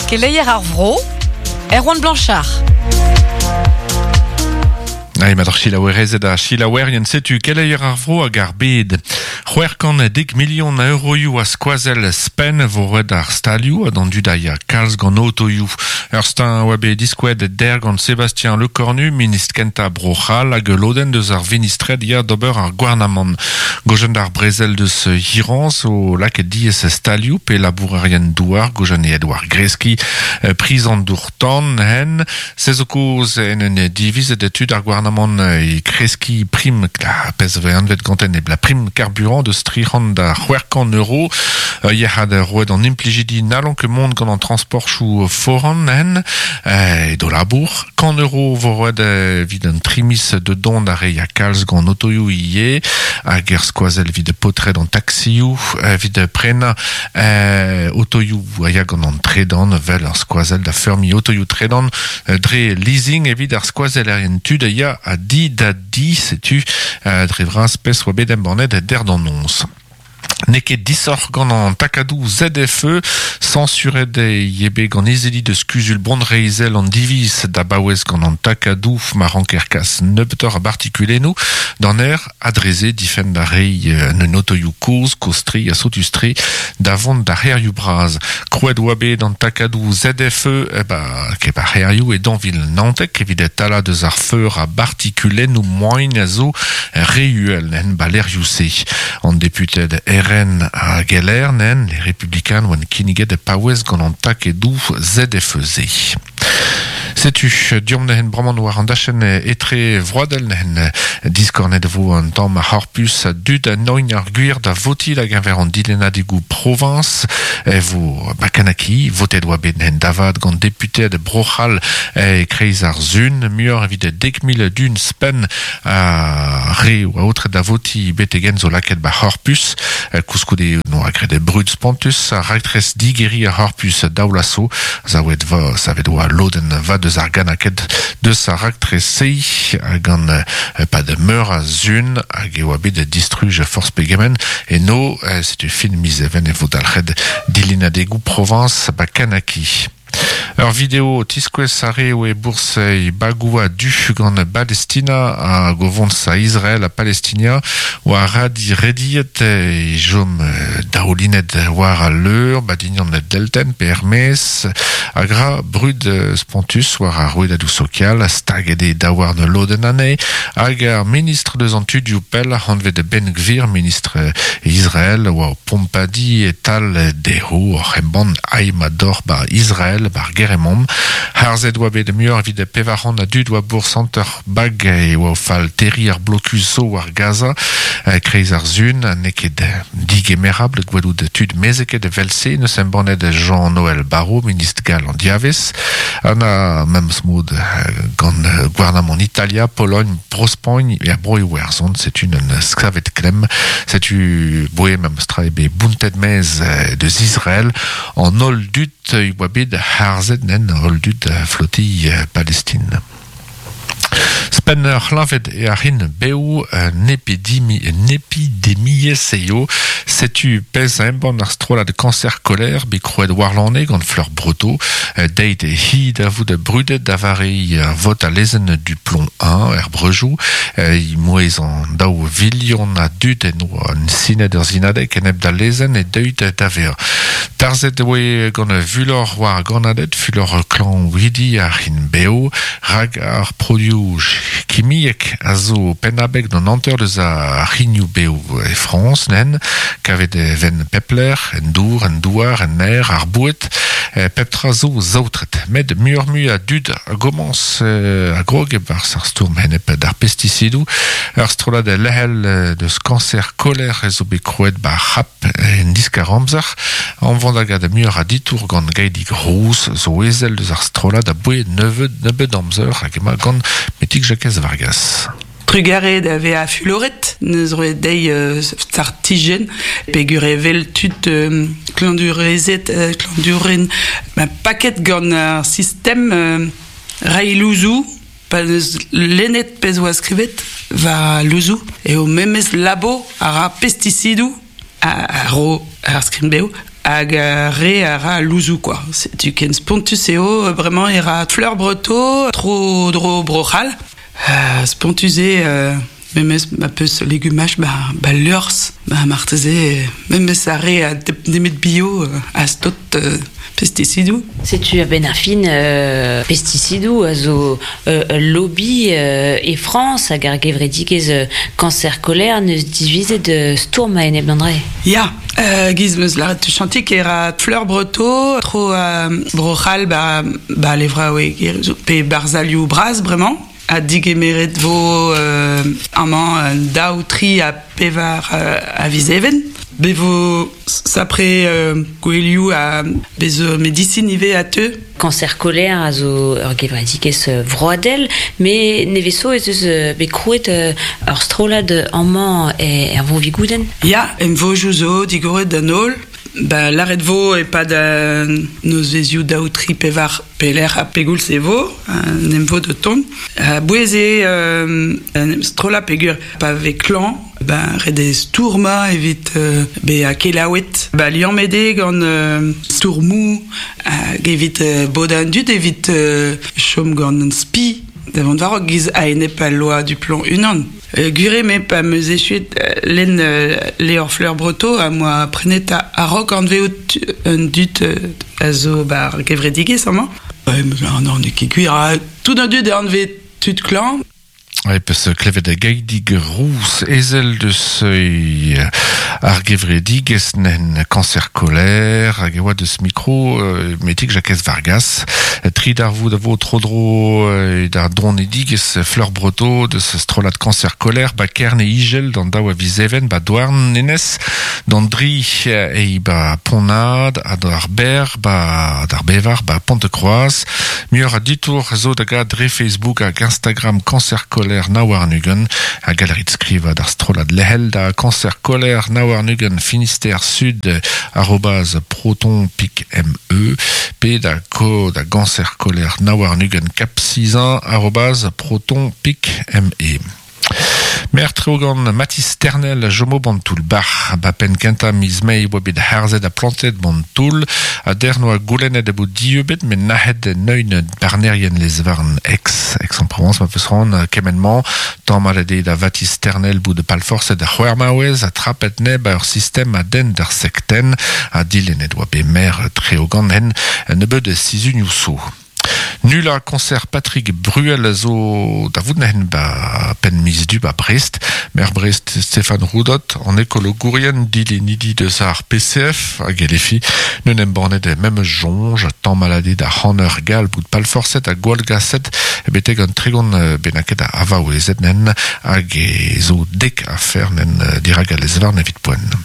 Keleier ar vro, Erwan Blanchard. Ai mat ar selaouerezed ha selaouerien setu keleier ar vro hag ar bed. 610 milion a euroioù a skoazell spenn vo roet d'ar stalioù ha d'an dud a ya kalz gant otoioù. Ur steuñv oa bet diskouezet der gant Sébastien Lecornu, ministr kentañ Bro-C'hall hag ul lodenn deus ar vinistred ya d'ober ar gouarnamant. Gojenn d'ar brezel deus Iran zo lakaet diaes stalioù pe labourerien douar gojenneet war greskiñ priz an dour-tan hen. Se zo kaoz en un divizet tud ar gouarnamant e kreskiñ prim pezh vez anvet ganten e la prim carburant deus 300 da 600 euro. Yec'had roet an implijidi n'hallont ket mont gant an transportchoù foran hen e do labour. 100 euro vo roet evit an tri miz de dont ar re ya kalz gant otoioù ivez hag er skoazell evit paotred an taxioù evit prenañ otoioù a ya gant an tredan vel ar skoazell da feurmiñ otoioù tredan dre leasing evit ar skoazellerien tud a ya a di da di setu dre vras pezh oa bet embannet der d'an noz. N'eo ket disoc'h gant an takadoù ZFE, sañsuret eo bet gant izili deus kuzul bonreizhel an diviz da baouez gant an takadoù ma ranker kas nebeutoc'h a bartikulennoù d'an aer ha dre-se difenn da reiñ un otoioù kozh, kozh-tre ha sotus-tre da vont d'ar c'hêrioù bras. Krouet oa bet an takadoù ZFE ba kep ar c'hêrioù e dañvil 19 evit talañ deus ar feur a bartikulennoù moain a zo re uhel en balerioù-se. An deputed RN hag LR nen, les Républicains oant kinniget paouez gant an takedoù ZFE-se. Setu deomp neuze bremañ war an dachenn etre vroadel neuze diskornet vo an tamm ar c'horpus a dud a noin ar gwir da votiñ da geñver an dilennadegoù proviñs e vo Bakanaki votet oa bet neuze da vat gant deputeed Bro-C'hall e kreiz ar sun muioc'h evit 10,000 dun spenn a re oa aotret da votiñ betek-henn zo lakaet ba c'horpus koulskoude noa graet brud spontus ar raktres digeriñ ar c'horpus daoulaso savet va savet oa lodenn vat deus ar ganaked deus ar raktres-se gant pad meur a sun hag e oa bet distruj forzh pegement eno setu fin miz even e vo dalc'het dilennadegoù proviñs ba Kanaki. Ur video tiskouez ar re oe bourzh bagoù a-du gant Palestina hag o vont a Israel ha Palestinia war radi rediet e chom daoulinet war al leur badignan deltenn pe er-maez hag ra brud spontus war ar rouedadoù sokial staget eo daouarn lodenn anezhe hag ar ministr deus an tudioù pell anvet Ben Gvir ministr Israel oa o pompadiñ e-tal dezho oc'h embann aimador ba Israel bar Geremomp. Harzet oa bet muioc'h evit 400 a dud oa bourzh hanter bag e oa o fall terriñ ar blokus zo war Gaza kreiz ar sun n'eo ket digemerabl gwelout tud mezeket evel-se neus embannet Jean-Noël Barrot ministr gall an diavez ha memes mod gant gouarnamant Italia, Pologne, Bro-Spagn er Bro-Iwerzhon setu un savet klemm setu boe memes tra eo bet bountet maez deus Israel an holl dud e oa bet harzet nen holl dud flotille Palestine. Spenn ur c'hleñved e ar hin bev un epidemiezh eo. Setu pezh a embann ar strollad Cancer Colère bet krouet warlane gant Fleur Breteau. Deit hi da vout brudet da vare vot al lezenn du plomb 1 er breujoù. Mouezh an daou vilion a dud en oa sinet ur sinadeg enep d'al lezenn e deuit da vezañ. Tarzhet e oe gant fulor war gannaded, fulor klañvidi ar hin bev, rak ar produoù kimiek a zo pennabeg d'an hanter deus ar c'hignoù-bev e Frañs, nen, kavet e ven pep lec'h, en dour, en douar, en aer, ar boued, pep tra zo saotret. Met muioc'h-mui a dud a gomañs a grog e-barzh ar stourm enep d'ar pestisidoù. Ur strollad lec'hel deus kañser koler zo bet krouet 'ba ar C'hap En diskar-amzer, anvont hag a muioc'h a ditour gant Gaedig Rouz zo ezel deus ar strollad aboe nebeut nebeut amzer hag emañ gant Metig Jakez Vargas. Trugarez da vezañ fuloret, neus roet dezhi startijenn peogwir evel tud klañvdurezed, klañvdouren paket gant ar sistem reiñ louzoù Pa 'neus lennet pezh 'oa skrivet war louzoù eo memes labo a ra pestisidoù a ro ar skrin-bev. Hag re a ra louzou, quoi. Setu ken spontus eo, bremañ e ra Fleur Breto tro dro Bro-C'hall. Spontus eo, memes ma peus legumaj ba, ba liorzh, ba marteze memes ar re a nemet bio a stot pesticidoù. Setu a-benn ar fin pesticidoù a zo ul lobby e Frañs hag ar gevredigezh Cancer Colère n'eus divizet stourm a-enep d'an dra. Ya, giz 'meus lâret tuchantik e ra Fleur Breto tro Bro-C'hall ba, ba levraoueg pe barzhalioù bras bremañ. Ha digemeret vo amañ daou, tri ha pevar a viz Even. Be vo sapre gouelioù ha bez zo medisin ivez a teu. Cancer Colère a zo ur gevredigezh vroadel, met nevez zo ez eus bet krouet ur strollad amañ er Vro-Vigoudenn. Ya, emvojoù zo digoret d'an holl. Ba lâret vo e-pad an nozvezhioù daou, tri, pevar pelec'h ha pegoulz e vo, an emvod o tont. A-bouez eo en em strollañ peogwir pa vez klañv, ben ret eo stourmañ evit bezañ kelaouet. Ba liammet eo gant stourmoù hag evit bodañ an dud evit chom gant an spi da vont war-raok giz a-enep al loa du plomb unan. Gwir eo me pa 'm eus echuet lenn levr Fleur Breto am boa prenet a-raok anvezout an dud a zo 'ba ar gevredigezh amañ. Non, n'eo ket gwir. Tout an dud a anvez tud klañv. E peus klevet Gaidig Rouz, ezel deus ar gevredigezh nen Cancer Colère, hag e oa deus mikro metik Jakez Vargas. Tri darvoud a vo tro-dro da donedigezh Fleur Breto deus strollad Cancer Colère ba Kerne Igel d'an daou a viz Even ba Douarnenez, d'an dri e ba Pont-Nad ha d'ar ber ba d'ar bevar ba Pont-de-Kroaz. Muioc'h a ditour zo da gad dre Facebook hag Instagram Cancer Colère 29 ha gallerit skrivañ d'ar strollad lec'hel da Cancer Colère 29 Finistère Sud arobase proton pik me pe da ko da Ganser Koler 29 Cap 6 arobase proton pik me. Maer Treogan Mathis Ternel a chomo ban toull-bac'h. Ba penn kentañ miz Mae e oa bet harzet ha plantet ban toull. Ha dec'h 'noa goulennet a bout dieubet met nac'het neun barnerien lez-varn Aix. Aix-en-Provence ma peus c'hoant kement-mañ. Tamallet eo da Vathis Ternel bout palforset ar c'hwec'h maouez ha trapet neb a ur sistem a denn d'ar sektenn ha dilennet oa bet maer Treogan en nebeud sizhunioù zo. Nullañ koñser Patrick Bruel a zo da vout neuze ba penn miz Du ba Brest. Maer Brest Stéphane Roudot, an ekologourien dilennidi deus ar PCF hag LFI n'eun embannet memes soñj tamalladé da c'haner gall bout palforset ha gwallgaset betek an 30 bennaket a vaouezed nen hag e zo dek afer nen dirak al lez-varn evit poent.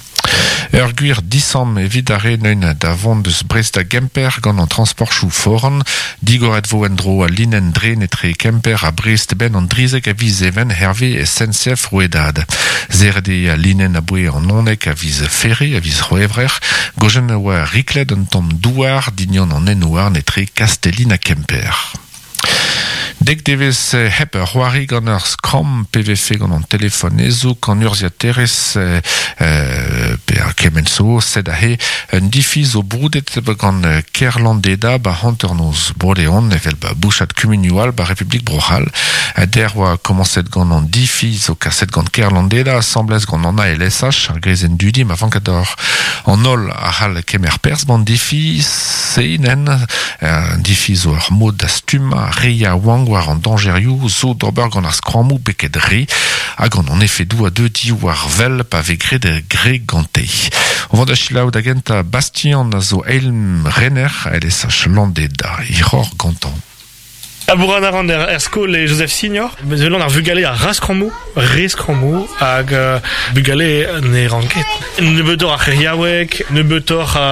Ur gwir disamm evit ar re neun da vont deus Brest da Gemper gant an transportchoù foran. Digoret vo en-dro al linenn dren etre Kemper ha Brest benn an drizek a viz Even hervez SNCF rouedad. Serret eo al linenn aboe an onnek a viz Ferre, a viz C'hwevrer. Gojen a oa riklet un tamm douar dignan an hent-houarn etre Kastellin ha Kemper. Dek devezh hep c'hoari gant ur skramm pe vefe gant an telefon hezoug, an urzhiaterezh pe ar kement zo, sed aze un difi zo broudet gant Kêr-Landeda ba hanternoz Bro-Leon evel ba bouchad kumunioù all ba Republik Bro-C'hall. Dec'h oa komañset gant an difi zo kaset gant Kêr-Landeda asambles gant an ALSH, ar greizenn dudi ma vank deoc'h. An holl a c'hall kemer perzh b'an difi-se nen. An difi zo ur mod da stummañ re yaouank war an dañjerioù zo d'ober gant ar skrammoù beket re ha gant an efedoù a deu diwar wel pa vez graet gre gante. O vont da selaou da gentañ Bastien a zo eil rener LSH Landeda hiroc'h gantañ. Labourat a ran er skol e Joseph Signor. Mezelan ar vugale a ra skrammoù, re skrammoù, hag bugale ne ran ket. Nebeutoc'h a c'heriaoueg, nebeutoc'h a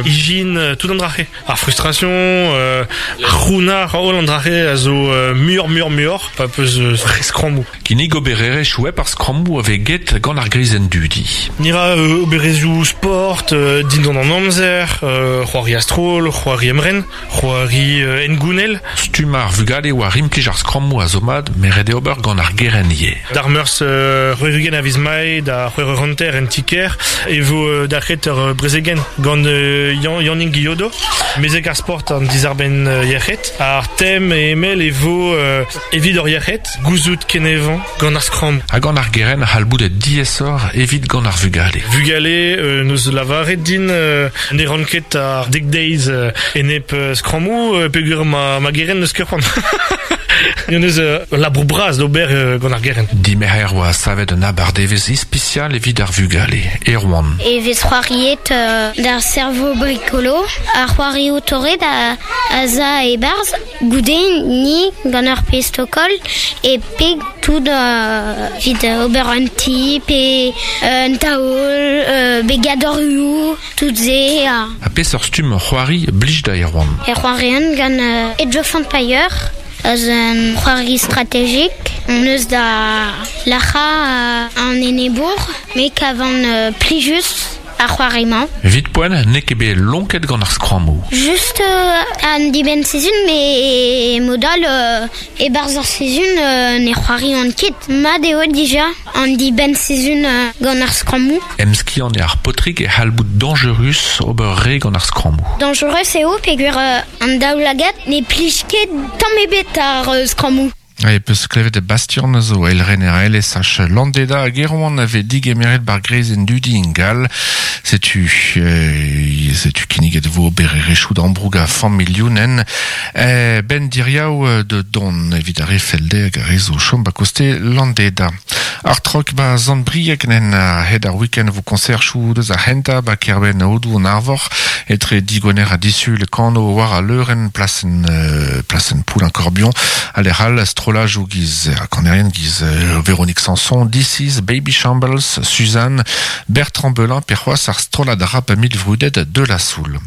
ijin, tout an dra-se. Ar frustration, ar c'hounnar, holl an dra-se a zo muioc'h muioc'h muioc'h pa peus re skrammoù. Kinnig obererezhioù hep ar skrammoù a vez get gant ar grizenn dudi. Ni ra obererezhioù sport dindan an amzer, c'hoari a-stroll, c'hoari emren, c'hoari hengounel. Stumm ar vugale. vugale war implij ar skrammoù a zo mat, met ret eo ober gant ar gerent ivez. D'ar meurzh c'hwec'h-ugent a viz Mae da c'hwec'h eur hanter en ti-kêr e vo dalc'het ur brezegenn gant Yannig Guillodo, mezeg ar sport an dizarbenn yec'hed. Ar tem e emell e vo evit hor yec'hed, gouzout kenevañ gant ar skramm. Ha gant ar gerent a c'hall bout diaesoc'h evit gant ar vugale. Vugale n'eus lavaret din ne ran ket ar dek deiz enep skrammoù peogwir ma gerent n'eus ket c'hoant. N'eus eus ul labour bras d'ober gant ar gerent. Dimerc'her oa savet un abardevezh ispisial evit ar vugale, Erwan. E vez c'hoariet d'ar cerveau bricolo, ar c'hoarioù torret a za e-barzh. Goude ni gant ur pezh tokol e peg tout evit ober un ti pe un taol, begadorioù, tout se. Ha peseurt stumm c'hoari blij da Erwan? E c'hoarian gant Age of Empire, eus un c'hoari strategik. On eus da lac'hañ an enebour, me kavan plijus ar c'hoari-mañ. Evit poent, n'eo ket bet lonket gant ar skrammoù. Just an dibenn-sizhun, met mod all e-barzh ar sizhun ne c'hoarian ket. Mat eo dija an dibenn-sizhun gant ar skrammoù. Emskiant eo ar paotrig e c'hall bout dañjerus ober re gant ar skrammoù. Dañjerus eo peogwir an daoulagad ne plij ket tamm ebet ar skrammoù. E peus klevet Bastian zo eilrener LSH Landeda hag Erwan a vez digemeret bar greizenn dudi ingal. Setu setu kinniget vo obererezhioù d'ambroug a familhounen. Ben diriaou de don evit ar re fell dezhe hag ar re zo chom ba koste Landeda. Ar trok ba Sant-Brieg nen a-hed ar week-end vo konserchoù deus ar c'hentañ ba kêrbenn Aodoù an Arvor etre digwener ha disul kano war al leurenn plasenn plasenn Poulain-Corbion ha lec'h all strollajoù giz kanerien giz Véronique Sanson, This Baby Shambles, Suzanne, Bertrand Belin pe c'hoazh ar strollad rap milvrudet de la Soul.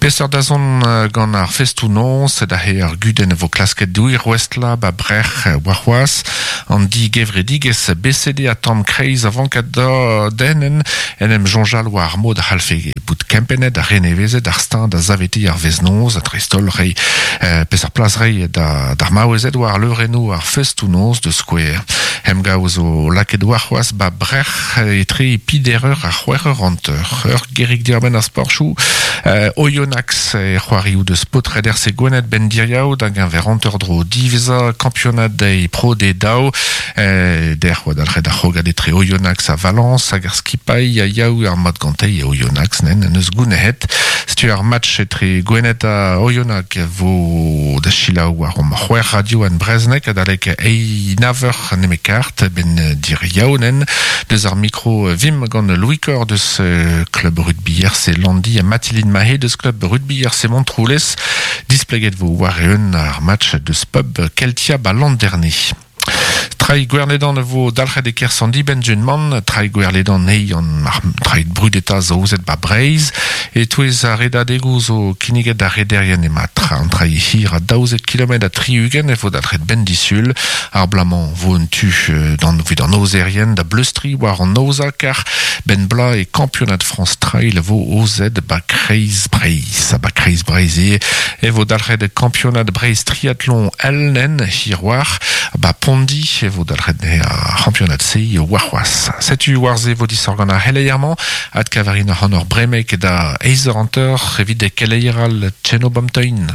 Peseurt dazont gant ar festoù-noz da ar gudenn vo klasket douir ouestlañ ba brec'h warc'hoazh an digevredigezh BCD ha tamm kreiz a vank da dennen en em soñjal war ar mod a c'hallfe bout kempennet ha renevezet ar steuñv da savetiñ ar vezh-noz ha dreist-holl reiñ peseurt plas reiñ d'ar maouezed war leurennoù ar festoù-noz da skouer. Emgav zo lakaet warc'hoazh ba brec'h etre pider eur ha c'hwec'h eur hanter. Ur gerig diarbenn ar sporchoù Oyonnax e c'hoarioù deus paotred RC Gwened ben diriaou da geñver hanter-dro diwezhañ kampionad deiz Pro D2. Dec'h oa dalc'het ar c'hrogad etre Oyonnax ha Valence hag ar skipailh a yaou ar mat gante e Oyonnax nen neus gounehet. Setu ar match etre Gwened ha Oyonnax vo da selaou war om c'hwec'h radio en Brezhoneg adalek eiz nav eur nemet kart ben diriaou nen deus ar mikro vim gant Louis Cor deus club rugby RC Landi ha Mathilde Mahé deus club rugby RC Montroulez displeget vo war eeun ar match deus pub Keltia ba Landerne. Trai Gwerledan vo dalc'het e kerzh an dibenn-man, Trai Gwerledan eo an ar trai brudetañ zo aozet ba Breizh. E-touez ar redadegoù zo kinniget d'ar rederien emañ an trai hir a 12 kilometr ha 60 e vo dalc'het benn disul. Ar bloaz-mañ vo un tu d'an evit an aozerien da bleustriñ war an aozañ kar benn bloaz e kampionad Frañs Trail vo aozet ba Kreiz Breizh. Ha ba Kreiz Breizh ivez e vo dalc'het kampionad Breizh triathlon LN hir war ba Pondi e vo dalc'het ar c'hampionad-se warc'hoazh. Setu war-se vo disoc'h gant ar c'heleier-mañ adkavarin ac'hanoc'h bremek da eizh eur hanter evit keleier all Tcheno Bamtein.